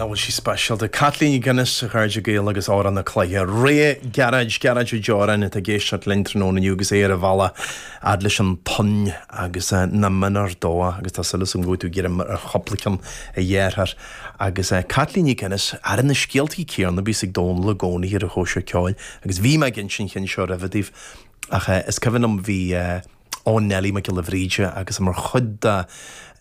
Nach bhfuil sí speisialta? Caitlín Nic Fhionnais, a chairde Gael agus Amhrán na Cloiche. Rogha Gearóid, Gearóid Ó Deoráin atá ag éisteacht linn tráthnóna inniu agus é ar a bhealach fhad leis an Tonn agus na Mionúir Dubha agus tá súil agam go bhfuil tú ag greim ar chúpla ceann a dheartháir. Agus Caitlín Nic Fhionnais, are na scéaltaí céanna a bhíos ag Dónal i gcónaí ar an chóisir ceoil agus bhí mé ag insint an chinn seo roimhe daoibh ach is cuimhin liom bhí Ó Neilí Mac Giolla Bhríde agus mar chuid de,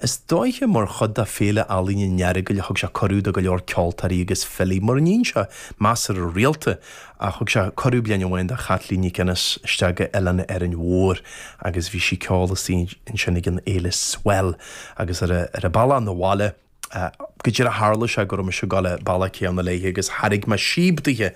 is dóiche mar chuid de Féile Ealaíne an Earagail thug sé cuireadh do go leor ceoltóirí agus filí, mura mbíonn sé measartha rialta ach thug sé cuireadh bliain amháin do Chaitlín Nic Fhionnais isteach go Oileán Árainn Mhór agus bhí sí ag ceol istigh ansin ag an fhéile Swell agus ar a ar a bealach 'na bhaile Go díreach tharla sé go raibh mise ag dul an bealach céanna léithe agus thairg mé síob daoithe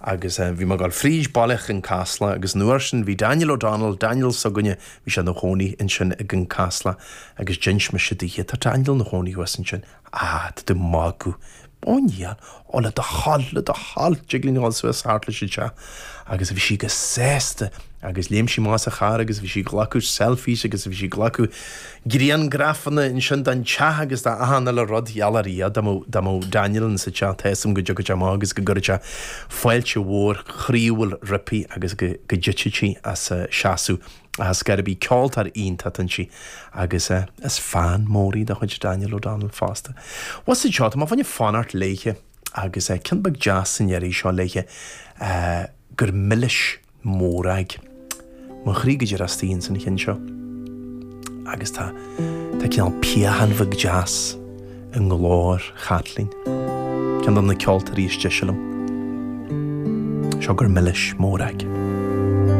agus bhí mé ag dul fríd baile Chionn Caslach agus an uair sin bhí Daniel O'Donnell, Daniel s'againne, bhí sé ina chónaí ansin i gCionn Caslach agus d'inis mise daoithe, tá Daniel ina chónaí thuas ansin, ah, tá tú ag magadh, ó níl, ó le do thoil, le do thoil, tig linn a dhul suas thart leis an teach agus bhí sí go sásta agus léim sí amach as a charr agus bhí sí ag glacadh selfies agus bhí sí ag glacadh griangrafanna ansin den teach agus de achan uile rud, gheall ar Dhia dá mbeadh dá mbeadh Daniel insa teach tá 'fhios a'm go dtiocfadh sé amach agus go gcuirfeadh sé fáilte mhór chroíúil roimpi agus go go dtitfeadh sí as a seasamh as scor ar bith. Ceoltóir iontach inti agus is fan mór í de chuid Daniel O'Donnell fosta. Bhuel seo, tá mé fá choinne fanacht léithe agus ceann beag deas san iarraidh seo léithe gur milis Mòrag. Mo chroí go díreach istigh ins an chinn seo. Agus tá tá cineál piachán bheag deas i nglór Chaitlín. Ceann de na ceoltóirí is deise liom. Seo gur milis Mòrag.